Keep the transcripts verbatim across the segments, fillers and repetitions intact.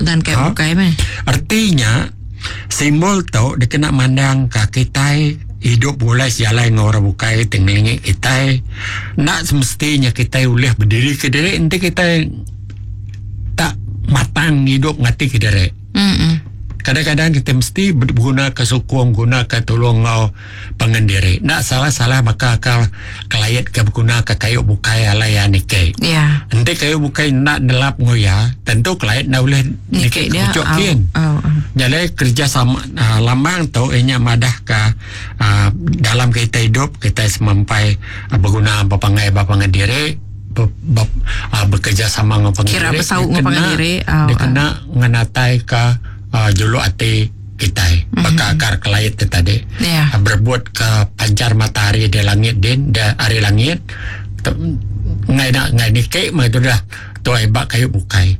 Dan kayu Ha? bukai meh. Artinya simbol tu dikena mandang ke kita hidup boleh sejalai dengan orang bukai tinggi kita. Nak semestinya kita boleh berdiri ke diri nanti kita tak matang hidup ngati ke diri. Mm-mm. Kadang-kadang kita mesti guna ke sukung, guna ke tolong ngau pengendiri. Nak salah-salah maka akal kelayat ke guna ke kayu bukai alai ya nike. Ya. Nanti kayu bukai nak nelap ngoya, tentu kelayat nak boleh Nike nike dia. kucuk Au, kin. au, au. Jadi kerja sama uh, lambang tu inya madah ke uh, dalam kita hidup kita semampai uh, berguna berpangai berpangai diri ber, ber, uh, bekerja sama dengan pangai Kira diri. bersaut Dia dengan pangai kena- diri, au, Dia au. kena ngenatai ke uh, juluk hati kita mm-hmm. Baka akar kelait tu tadi. Ya. Uh, berbuat ke pancar matahari di langit din, di hari langit. Ngai nak ngai nikik mah tu dah. Tu hebat kayu bukai.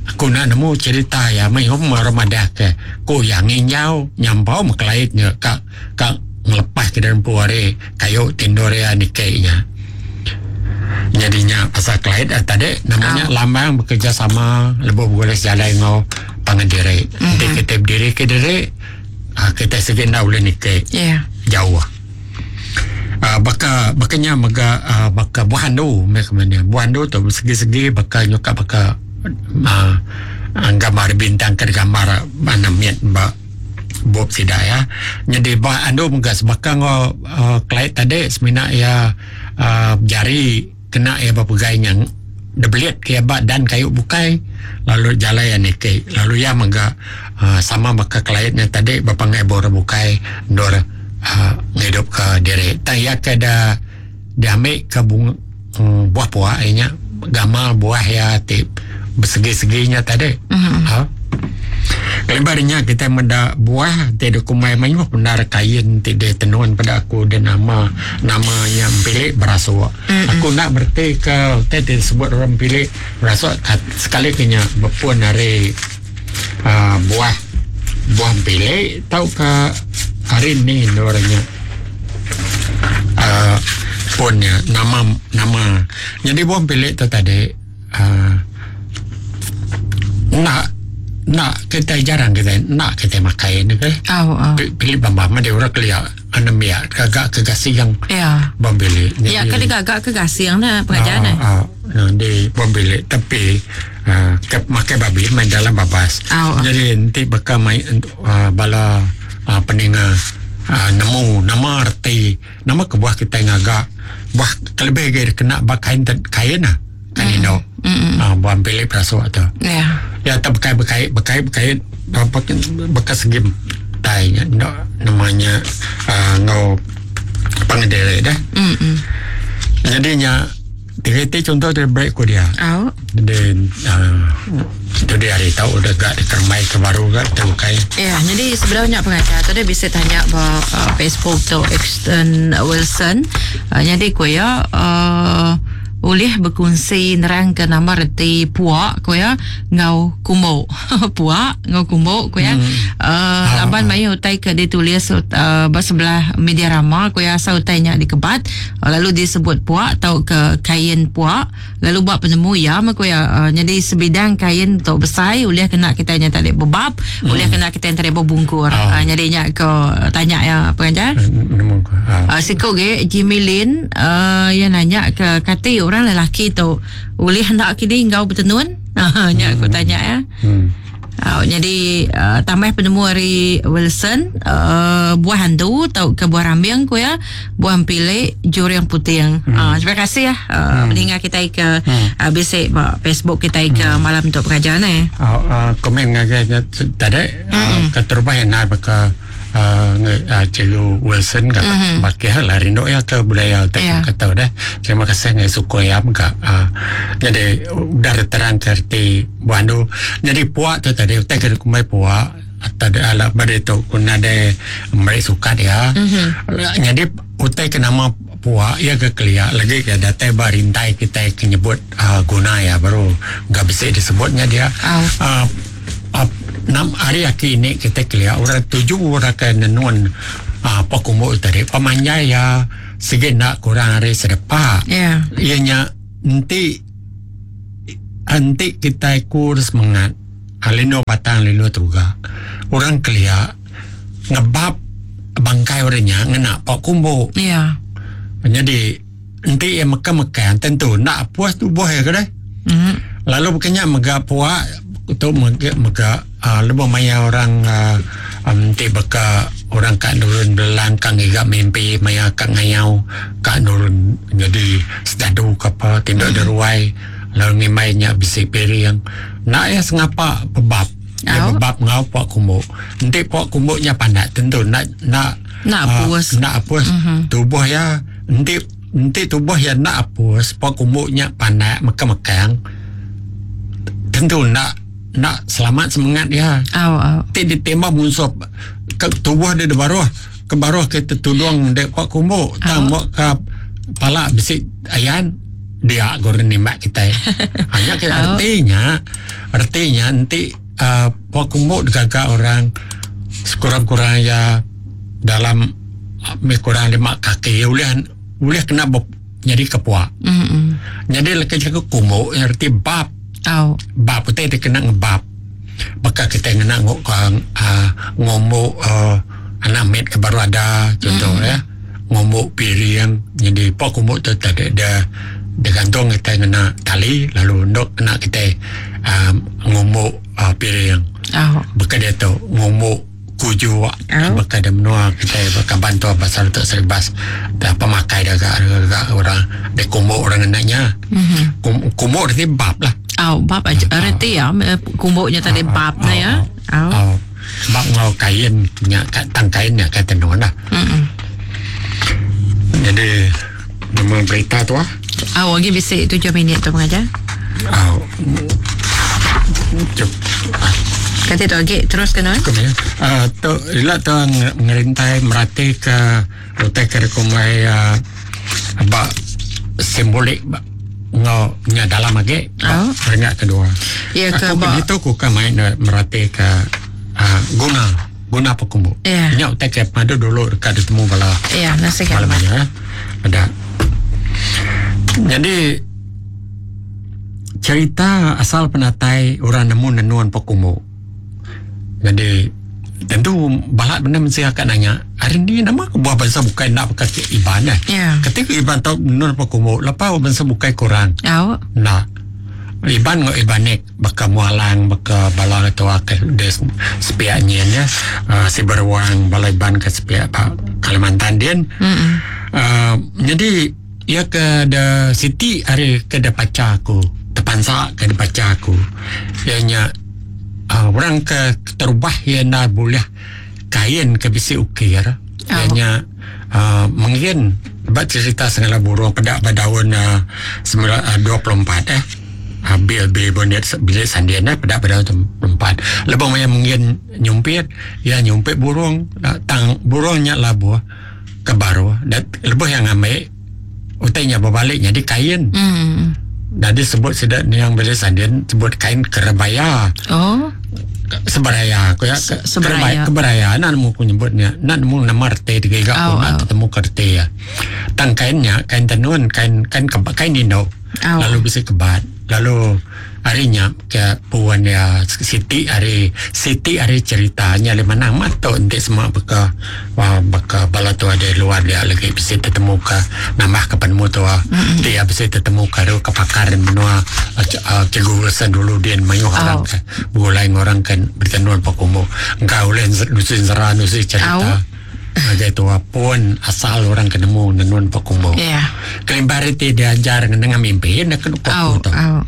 Aku nak nemu cerita ya mai hom ramadah ke. Ko yang nginyau nyampau mekelaitnya ka ka ngelepas ke dalam puare kayu tindorea nikiknya. Jadinya pasal kelait eh, tadi namanya Ah. lambang bekerja sama lebih boleh jalan ngau pangan diri. Nanti Mhm. kita berdiri ke diri ah, kita segenda boleh nikik Ya. jauh. Uh, baka bakanya mega uh, baka buah andu mereka mana buah andu tu segi-segi baka nyuka baka uh, gambar bintang ke gambar mana miat ba bob sida ya. Jadi buah andu mega sebaka ngo uh, kelait tadi semina ya uh, jari kena ya berpegai yang debelit ke ba dan kayu bukai lalu jalan yang nike lalu ya mega uh, sama baka kelaitnya tadi berpangai bora bukai dor uh, ngidup ke diri tak ya ke da diambil ke bunga um, buah buah nya gamal buah ya tip bersegi-seginya tadi Mhm. ha Kelebarnya kita menda buah tidak kumai mayuh benar kain tidak tenun pada aku dan nama namanya pilih berasuk. Mm-hmm. Aku nak berarti ke tidak disebut orang pilih berasuk kat- sekali kenya berpun hari uh, buah buah pilih tau ke hari ni orangnya uh, punnya nama nama jadi buah pilih tu tadi uh, nak nak kita jarang kita nak kita makan ni ke Au, au. Pi- pilih bambam ada orang kelia anemia kagak kegasi yang Ya. bom bilik Ya, kan dia gagak ke gasing lah pengajaran eh. ah, ah, di bom bilik tapi ah, ke, makan babi main dalam babas Ah, ah. jadi nanti bakal main uh, bala uh, peninga uh, nemu nama arti nama ke buah kita ngagak buah kelebih ke kena bak kain kain lah kain mm. Mm. Ah, buah bilik perasuk tu Ya. ya tak berkait berkait berkait berkait apa bekas segi tai nya no, namanya uh, ngau pangedere dah Mm. jadinya tiga contoh dia break ku dia Au. dia uh, tu dia hari tahu udah gak dikermai ke baru gak terbukai Ya, jadi sebenarnya pengajar tadi bisa tanya ba uh, Facebook tu Exton Wilson. Uh, jadi ku ya uh, boleh berkongsi nerang ke nama reti puak ku ya ngau kumbo. Puak ngau kumbo ku ya. Hmm. Uh, laban mayu utai ke ditulis uh, bersebelah media rama ku ya asal utainya dikebat uh, lalu disebut puak atau ke kain puak lalu buat penemu ya mah ku ya uh, jadi sebidang kain tu besar boleh kena kita nya tadi bebab hmm. boleh kena kita yang tadi berbungkur Oh. uh, jadi nya ke tanya ya pengajar nemu ke ah. Uh, siku ge Jimmy Lin uh, yang nanya ke kata orang lelaki tu boleh hendak kini ngau bertenun uh, nya aku tanya ya hmm. Uh, jadi uh, tambah penemu hari Wilson uh, buah hantu atau ke buah rambing ku ya buah pilik juriang puting. Hmm. Uh, terima kasih ya uh, hmm. mendengar kita ke hmm. uh, bisik ba Facebook kita ke hmm. malam untuk pengajian eh. Ah, ah, komen ngagai tadi mm. keterubah yang nak baka uh, uh, Cikgu Wilson kata mm-hmm. baki hal lah rindu ya ke budaya tak Ya. kata dah terima kasih ngai suku ya ka uh, jadi udah terang kerti buandu jadi puak tu tadi utai ke kumai puak atau ada alat pada tu kuna ada mereka suka dia mm-hmm. Jadi utai ke nama puak ya ke kelia lagi ke datai barintai kita kenyebut uh, guna ya baru nggak bisa disebutnya dia Ah. uh, uh, enam hari aki ini kita kelia orang tujuh orang ke nenun uh, pakumbu tadi pemanjai ya segi nak kurang hari sedepa Ya. ianya nanti nanti kita kurs mengat Lino batang lino tuga. Orang kelia ngebab bangkai orangnya ngena pak kumbu. Ya. Jadi enti yang meka-meka tentu nak puas tubuh ya ke deh. Mm. Lalu bukannya mega puak tu mega mega uh, lebih maya orang uh, um, ti beka orang kat nurun belang kang iga mimpi maya kat ngayau kat nurun jadi sedadu ke apa tindak mm. deruai lalu ngimainya bisi piring nak ya sengapa bebab ya Oh. bebab ngau puak kumbu enti puak kumbuknya pandak tentu nak nak Nak apus. uh, nak apus mm-hmm. tubuh ya enti enti tubuh ya nak apus puak kumbuknya pandak mekang-mekang tentu nak nak selamat semangat ya. Au au. Ti ditembak musuh ke tubuh dia di baruh ke baruh kita tudung dek pak kumbuk tang buat ke pala bisik ayan dia goreng nembak kita. Hanya kita artinya artinya nanti uh, pak kumbuk digagak orang sekurang-kurang ya dalam uh, kurang lima kaki boleh boleh kena bop, jadi kepuak. Mm. Jadi leki cakap kumbuk arti bab Au. bab putih dia kena ngebab. Baka kita kena ngok uh, ngomok uh, anak med ke baru ada contoh mm. ya. Ngomok piring jadi pak kumbuk tu tak ada dia, dia gantung kita kena tali lalu ndok kena kita um, ngomok uh, piring. Au. Baka dia tu ngomok kuju Oh. baka dia menua kita baka bantu pasal untuk seribas dah pemakai dah agak, agak orang dia kumbuk orang kenanya. Mm-hmm. Kum, kumbuk dia bab lah. Au bab aja reti ya kumbuknya tadi bab na ya. Au. Oh. Bab ngau kain nya kat tang kain nya kat tenun lah. Mm. Jadi nama berita tu ah. Au lagi bisik tujuh minit tu pengajar. Oh. Cuk. Kata tu lagi terus kena. Kum ya. Ah tu ila tu ngerintai merati ke utai ke kumai uh, ba simbolik ba ngau nya dalam lagi Oh. peringkat kedua. Ya ke Aku ba itu ku kan main merati ke uh, guna guna pekumbu. Ya. Nya utai ke padu dulu dekat ditemu bala Ya, nasihat. malam ya. Ada. Jadi cerita asal penatai orang nemu nenuan pekumbu. Jadi tentu balak benda mesti akan nanya hari ni nama ke buah bangsa bukai nak pakai iban eh. Ya. Ketika iban tahu nenun pekumbu, lepas bangsa bukai kurang. Au. Nak Iban ngau ibanik baka mualang baka bala atau ke des sepiak nyen ya uh, si beruang bala iban ke sepiak pak Kalimantan din. Mm. Uh, jadi ia ke the city hari ke the paca aku terpansa ke the paca aku ianya uh, orang ke terubah ia nak boleh kain ke bisi ukir Oh. ianya uh, mungkin bab cerita segala burung pada pada tahun uh, sembilan dua puluh empat eh uh, bil bil bonet bilik sandian eh pada pada tahun empat lebih banyak mungkin nyumpit ya nyumpit burung uh, tang burungnya labuh ke baru dan lebih yang ambil utainya berbalik jadi kain Mm. dan disebut sedak ni yang bilik sandian sebut kain kerebaya Oh. seberaya aku ya Se- ke- seberaya. kerebaya keberaya nak nemu aku nyebutnya nak nemu nama reti tiga Au, aku nak au. ketemu ke reti ya tang kainnya kain tenun kain kain keba, kain indo Au. lalu bisa kebat lalu harinya ke puan ya Siti hari Siti hari ceritanya le mana mato ente semua beka wah beka bala tu ada luar dia lagi bisa ketemu ke nambah ke penemu tu mm-hmm. dia bisa ketemu ke ke pakar menua uh, cikgu Wilson dulu dia mayu orang Au. ke bulai orang kan bertenun pakumu engkau boleh nusin sera nusin cerita Agai tua pun asal orang ketemu nenun pakumu. Ya. Kelimpar itu diajar dengan mimpi nak kena Au tu. au.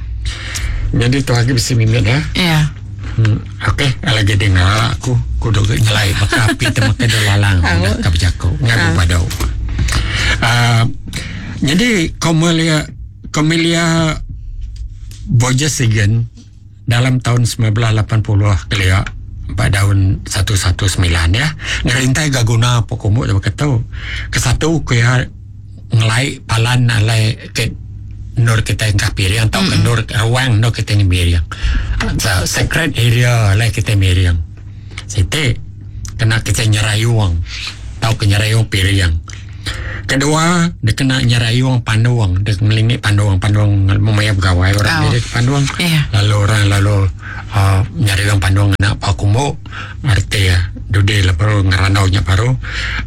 Jadi tu lagi bisa mimpi ya. Ya. Hmm, okey, lagi dengar aku kudu nyelai baka api temu ke lalang dah ka berjaku ngaku padau. Ah, jadi Komelia Komelia Borges-Sigen dalam tahun sembilan belas lapan puluh kelia pada tahun satu satu sembilan ya ngerintai gaguna pokomuk dia kata kesatu kuya ngelai palan alai ke nur kita yang kapiriang atau ke nur ruang nur kita yang miriang so, sacred area alai kita miriang sete kena kita nyerayuang tau ke nyerayuang piriang kedua dia kena nyerayuang panduang dia ngelingi panduang panduang memaya pegawai orang Oh. jadi panduang Ya. lalu orang lalu uh, nyari orang pandung anak pak kumbu arti ya dude lah baru ngeranau nya baru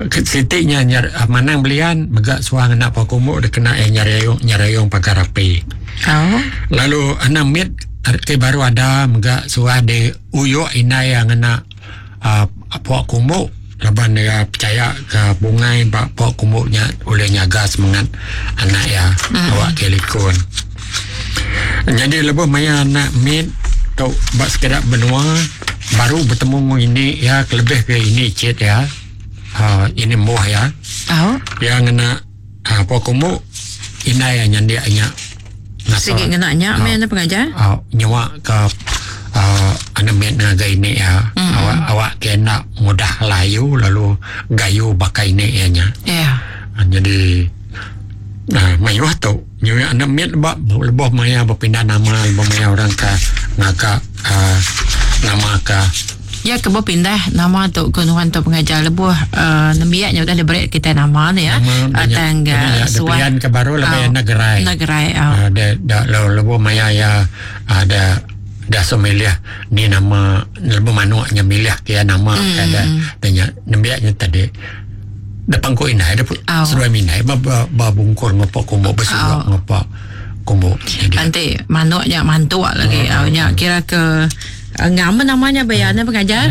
sitiknya nyar uh, manang belian megak suang anak pak kumbu dia kena eh nyari ayung nyari ayung pagar api. Oh. Lalu anak mit arti baru ada megak suah de uyuk inai yang anak uh, pak kumbu laban dia percaya ke bungai pak pak kumbunya oleh nyaga semangat anak ya mm. awak kelikun. Jadi lebuh maya anak mit tau bak sekedar benua baru bertemu ini ya kelebih ke ini cit ya uh, ini muah ya. Oh. Yang kena uh, pak kumbu inai yang nyandia nya. Sikit kena nya uh, men pengajar. Uh, nyawa ke Uh, anak mit ngaga ini ya mm-hmm. awak awak kena mudah layu lalu gayu bakai ini ya nya. Yeah. Uh, jadi nah mayuh tu nyu anak mit ba leboh maya berpindah nama leboh maya orang ka ngaga uh, nama ka ya ke berpindah nama tu ke nuan tu pengajar lebuh uh, nembiaknya udah diberi kita nama ni ya atang suan ke baru lebih oh, negerai negerai oh. uh, da, da, lebuh maya ya ada dah so milih ni nama lebuh manuknya milih kia nama mm. kada tanya nembiaknya tadi depan ko inai ada oh. seruai minai ba ba, ba bungkur ngopak kumbuk bersurak oh. ngopak kumbuk nanti manuknya mantuk lagi oh. nya kira ke ngam namanya bayarnya pengajar.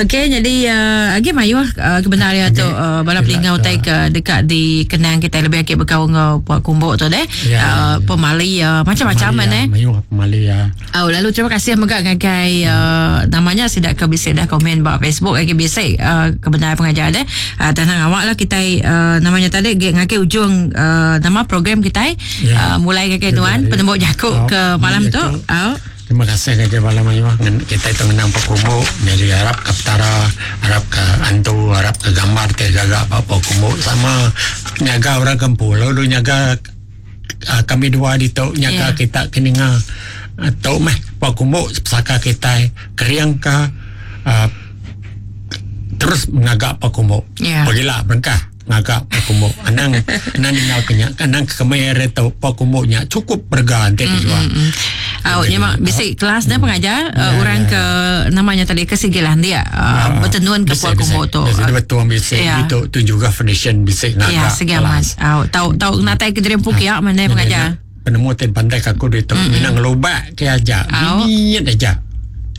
Okey, jadi uh, agi mayuh uh, kebenaran tu uh, bala pelingau tai ke dekat di kenang kita lebih akik berkau ngau puak kumbuk tu deh. Ya, uh, ya. Pemali uh, macam-macam pemali, eh. Mayuh pemali ya. Oh, lalu terima kasih mega ngagai uh, namanya sidak ke bisik dah komen ba Facebook agi bisik uh, kebenaran pengajar deh. Uh, tanang awak lah kita uh, namanya tadi ngagai ujung uh, nama program kita ya. uh, mulai ngagai tuan penembuk jakuk oh, ke malam tu. Oh. Terima kasih kepada bala mayuh kita itu menang Pak Kumbu jadi harap ke petara harap ke antu harap ke gambar ke gagak Pak Kumbu sama nyaga orang kempu lalu nyaga uh, kami dua di tu nyaga yeah. kita keninga atau meh Pak Kumbu pesaka kita keriang ke uh, terus mengagak Pak Kumbu yeah. Pergilah berengkah ngagak Pak Kumbu anang anang dengar kenyak anang kemer tu Pak Kumbu nya cukup berga nanti dijual. Mm, mm, mm. Oh, nya mak bisik kelas dah pengajar ya, uh, orang ya, ke namanya tadi ke sigilan dia uh, ya, bertenun ke Puak Kumbu tu. Bisik betul bisik ya. Itu tu juga foundation bisik ngagak. Ya, segaman. Oh, tau tau natai ke derempu kiak mana pengajar. Penemu ten pandai aku di tu minang lobak ke aja. Niat aja.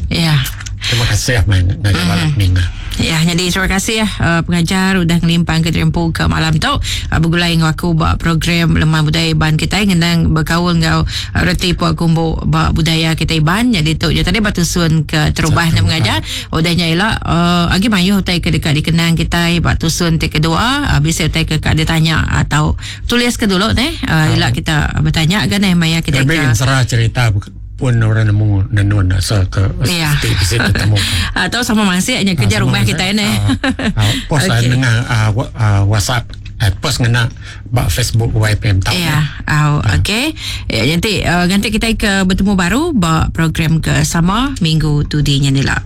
Ya. Terima kasih main ngajar balap ninga. Ya, jadi terima kasih ya uh, pengajar udah ngelimpang ke Terempu ke malam tu. Uh, bergulai dengan aku buat program Lemah Budaya Iban kita ngendang berkaul dengan uh, reti Puak Kumbu buat budaya kita Iban. Jadi tu je tadi batusun ke terubah nak mengajar. Udahnya ialah uh, agi mayuh utai ke dekat dikenang kita buat tusun ti kedua, uh, bisa utai ke kat dia tanya atau tulis ke dulu neh. Uh, ialah kita bertanya kan eh maya kita ke serah cerita pun orang nemu nenun asal ke ya. Mesti ketemu atau sama masih hanya kerja ha, rumah kita ini ha, post okay. Dengan uh, uh, WhatsApp uh, post ngena bak Facebook Y P M tahu ya oh, ha. Okey ya, nanti uh, nanti kita ke bertemu baru bak program ke sama minggu tu di nyanila.